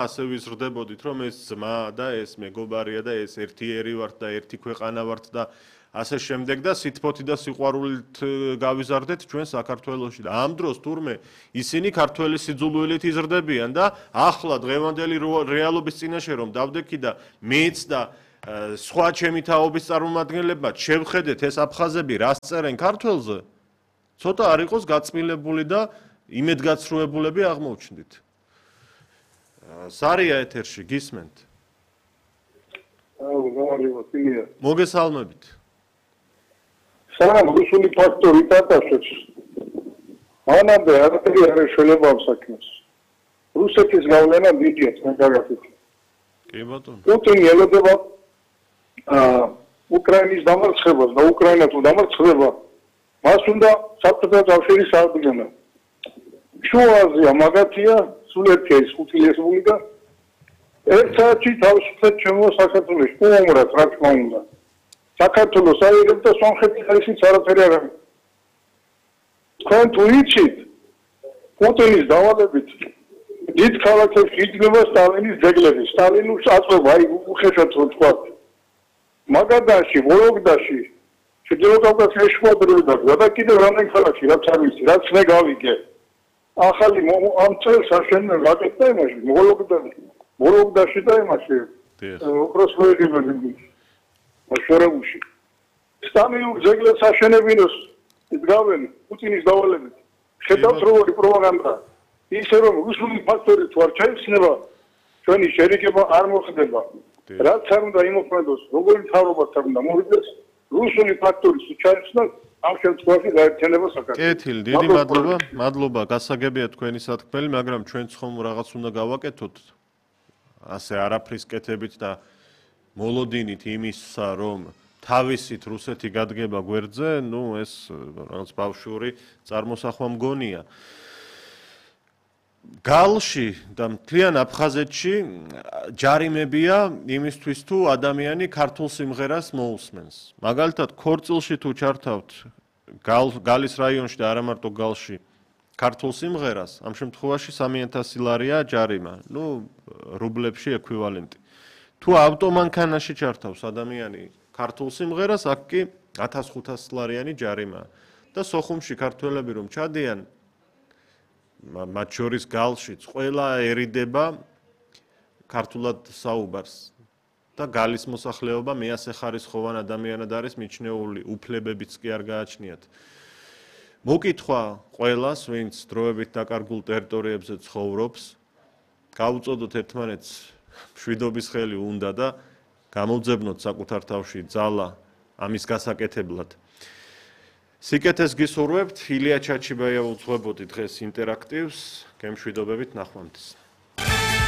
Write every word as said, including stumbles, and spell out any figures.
ასე ვიზრდებოდით, რომ ეს ძმა და ეს მეგობარია და ეს ერთი ერი ვართ და ერთი ქვეყანა ვართ და ასე შემდეგ და სითბოთი და სიყვარულით გავიზარდეთ ჩვენ საქართველოში და ამ დროს თურმე ისინი ქართველი სიძულვილით იზრდებიან და ახლა დღევანდელი რეალობის წინაშე რომ დავდექი და მეც და სხვა ჩემი თაობის წარმომადგენლებმა შევხედეთ ეს აფხაზები რას წერენ ქართველზე ცოტა არ იყოს გაწმილებული და იმედგაცრუებულები აღმოჩნდით. სარია ეთერში გისმენთ? მოგესალმებით. სანამ რუსული ფაქტორი დაწესებს, მანამდე არაფერი არ შეიძლება ამ საქმეს. რუსეთის გავლენა დიდია მაგალითად. კი ბატონო. პუტინი ელოდება უკრაინის დამარცხებას და უკრაინა თუ დამარცხდება, მას უნდა საბჭოთა კავშირის საერთაშორისო შუა აზია მაგათია სულეთია ის ხუთი რესპუბლიკა ერთ საათში თავისუფლად ჩემო საქართველოს უმრად რა თქმა უნდა საქართველოს აიღებს და სომხეთის ისიც არაფერი არ არის. თქვენ თუ იცით პუტინის დავალებით დიდ ქალაქებში იძნება სტალინის ძეგლები სტალინს აწვევა აი უხეშად რო თქვა მაგადაში ვოლოგდაში ჩრდილო კავკასიაში შუადროი და კიდევ რამდენ ქალაქში რაც არ ვიცი რაც მე გავიგე ახალი ამ წელს აშენე რაკეტა იმაში ვოლოგდაში ვოლოგდაში და იმაში უპროსვეები მაშორებუში სტამიურ ძეგლებს აშენებინოს იდგავენ პუტინის დავალებით ხედავთ როგორი პროპაგანდა ისე რომ რუსული ფაქტორი თუ არ ჩაიხსნება ჩვენი შერიგება არ მოხდება რაც არ უნდა იმოქმედოს როგორი მთავრობასთან უნდა მოვიდეს რუსული ფაქტორის ჩაიხსნა ამ შემთხვევაში გაერთიანება საქართველოს. კეთილი, დიდი მადლობა, მადლობა, გასაგებია თქვენი სათქმელი, მაგრამ ჩვენც ხომ რაღაც უნდა გავაკეთოთ ასე არაფრის კეთებით და მოლოდინით იმისა, რომ თავისით რუსეთი გადგება გვერდზე, ნუ ეს რაღაც ბავშვური წარმოსახვა მგონია. გალში და მთლიან აფხაზეთში ჯარიმებია იმისთვის თუ ადამიანი ქართულ სიმღერას მოусმენს. მაგალითად, ქორწილში თუ ჩართავთ გალის რაიონში და არა მარტო გალში ქართულ სიმღერას, ამ შემთხვევაში სამი ათასი ლარია ჯარიმა, ნუ რუბლებში ექვივალენტი. თუ ავტომანქანაში ჩართავს ადამიანი ქართულ სიმღერას, აქ კი ათას ხუთასი ლარიანი ჯარიმაა. და სოხუმში ქართველები რომ ჩადიან მათ შორის გალშიც ყველა ერიდება ქართულად საუბარს და გალის მოსახლეობა მეასე ხარისხოვან ადამიანად არის მიჩნეული, უფლებებიც კი არ გააჩნიათ. მოკითხვა ყველას, ვინც დროებით დაკარგულ ტერიტორიებზე ცხოვრობს, გაუწოდოთ ერთმანეთს მშვიდობის ხელი უნდა და გამოვძებნოთ საკუთარ თავში ძალა ამის გასაკეთებლად. სიკეთეს გისურვებთ, ილია ჩაჩიბაია უძღვებოდი დღეს ინტერაქტივს, გემშვიდობებით ნახვამდის.